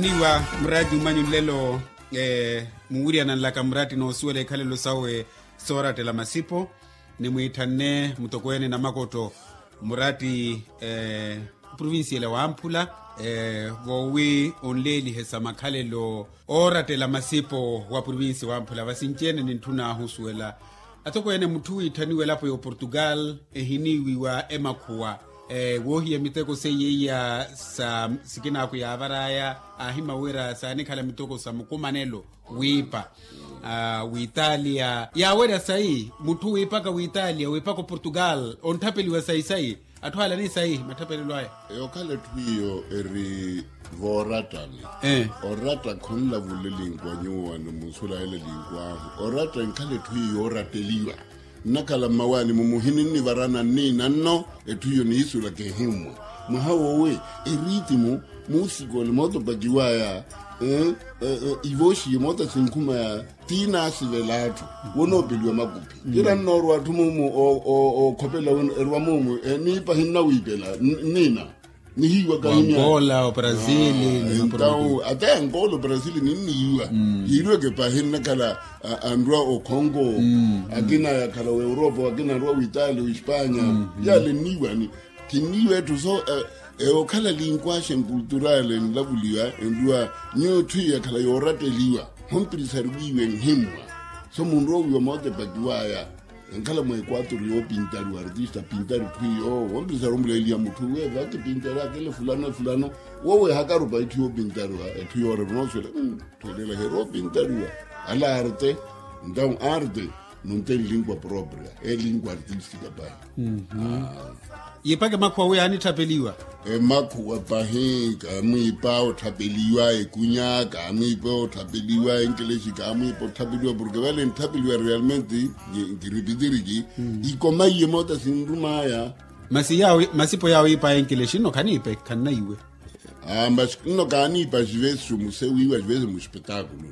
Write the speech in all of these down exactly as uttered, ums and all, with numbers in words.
Niwa murati umanyu nlelo, muwiriyana nlaka murati noosuwela ikhalelo sawe soorattela masipo. Nimwiithanne mutokweene namakotto murati provincial wamphula, voowi onleelihesa makhalelo oorattela masipo wa provincia wamphula vasinci-ene nintthun'ahu osuwela atokweene mutthu wiitthaniwa elapo ya oportugal ehiniiwiwa emakhuwa, woohiya miteko seiya iya sa sikinaakhu yaavar'aya aahimawira saanikhala miteko sa mukumanelo wiipa w'italia yaawerya sayi mutthu wiipaka w'italia wiipaka oportugal ontthapeliwa sayi sayi. Atthu ala ni sayi matthapelelo aya. Eyo okhala etthu iyo eri voorattani. Oratta khonlavula elinkwa nyuwani munsulahela elinkwahu oratta enkhala etthu iyo yooratteliwa. Nnakhala mmawaani-mu muhini nnivarana nniina nno etthu iyo niisulaka ehimmwa mwaha woowi, eritimu, muusikoni mootopakiwaya, ivooxiye moota sinkhumaya. Tiinaasivela atthu wonoopeliwa makuphi ira nnoorwa atthu muumu ookhopela wino erwa muumu eniipa hinnawiipela nniina. Nihiiwaka himya. Angola obrasili. Entawu ata ya angola obrasili ninniiwa. Yiiriweke pahi nnakhala anrwa okhongo akina yakhala w'europa akina anrwa w'italia w'espanya. Yale nniiwani kinniiwa etthu so. Eyo okhala linkwashe nkulturale enlavuliwa enrwa nyuwo etthu iyo yakhala yooratteliwa. Hompirisari wiiwe nhimmwa so munrowiwa mootepakiwaya. Enkhala mwa equator yoopintariwa artista pintari etthu iyo wompirisari omuleeliha mutthu uwe vakipintari akele fulano efulano. Wowe hakarupa etthu yoopintariwa etthu yoorerwa nooswela. Etthu eleela heroopintariwa ala arte. Entawu arte nunte nlingua propria elingua artistika pahi. Yiipaka emakhuwa wi yaanitthapeliwa. Emakhuwa pahi kaamwiipa otthapeliwa ekunya kaamwiipa otthapeliwa enkelexi kaamwiipa otthapeliwa porke vale ntthapeliwa realmente. Nkiripitiriki ikoma iye moota sinrumaya. Masi yaawo masipo yaawo yiipaya enkelexi nno khaniipe khannaiwe. Masi nno kaaniipa xivesi xomusewiwa xivesi muxipetaakulu.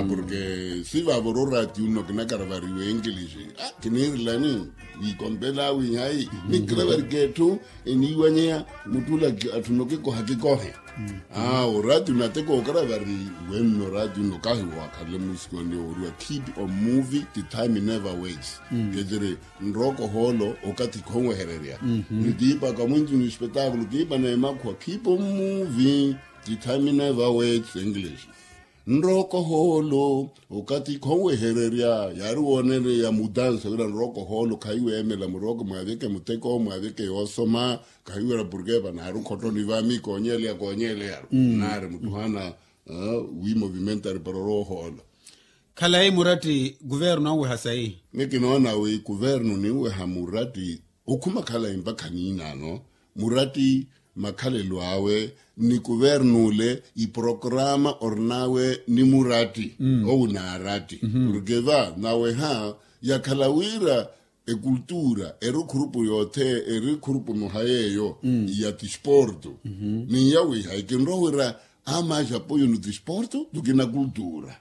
Porke sivavora oraati unno kinakaravariwa enkelexi kiniirilani. Wiikompela wihayi ni kiravarika etthu eniiwanyeya muttula atthu nno kikoha kikohe. Oraati unno ate kookaravari wenno oraati unno kahi waakhalele muusikoni ooriwa keep on moving the time never waits. Keciri nrooko hoolo okathi khonwehererya. Ni kiipaka mwinci ni espetaakulu kiipana emakhuwa keep on moving the time never waits english. Nrooko hoolo okathi khonwehererya yaari woonereya mutansa wira nrooko hoolo khahiweemela murooko mwaaveke muteko mwaaveke yoosoma. Khahiwira porke vanaari okhottoni vaami koonyeleya koonyeleyaru naari muttuhana wi movimentari para oroohoola. Khalayi muratti kuvernu anweha sayi. Ni kinoona wi kuvernu ninweha muratti okhuma khalayi mpakha niinaano muratti makhalelo awe ni kuvernu ole iporokrama orinawe ni muratti. Owu naaratti porke va naweha yakhala wira ekultura eri okhurupu yoothe eri khurupu muha yeeyo ya tisporto. Ni yawiha ekinrowa wira ama ajapoyo ni tisporto tukina kultura.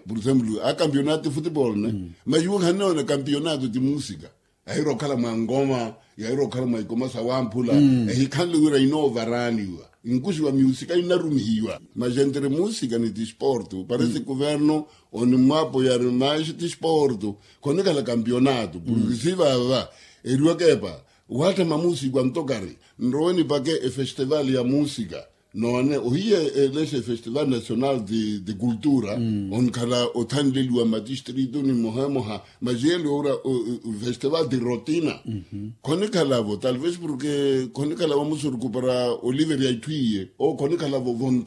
Por exemplo a kampionato efutebol ne mas iwe khanoona kampionato ti musika. Yahira okhala mwa ngoma yahira okhala mwa ikoma sawamphula ehikhanle wira inoovaraaniwa. Nkuxiwa miusika inarumihiwa mas entre musika ni tisporto parece kuverno onimwapo yari maxi tisporto. Khonikhala kampionato porke sivava eriwaka epa wattha mamusiku antokari nrowe nipake efestival ya musika. Noone ohiye elexe efestival national de cultura onkhala othanleliwa matistrito ni moha emoha mas yelo owura festival de rotina. Khonikhalavo talvez porke khonikhalavo musuruku para oliver yaitthu iye o khonikhalavo vonta.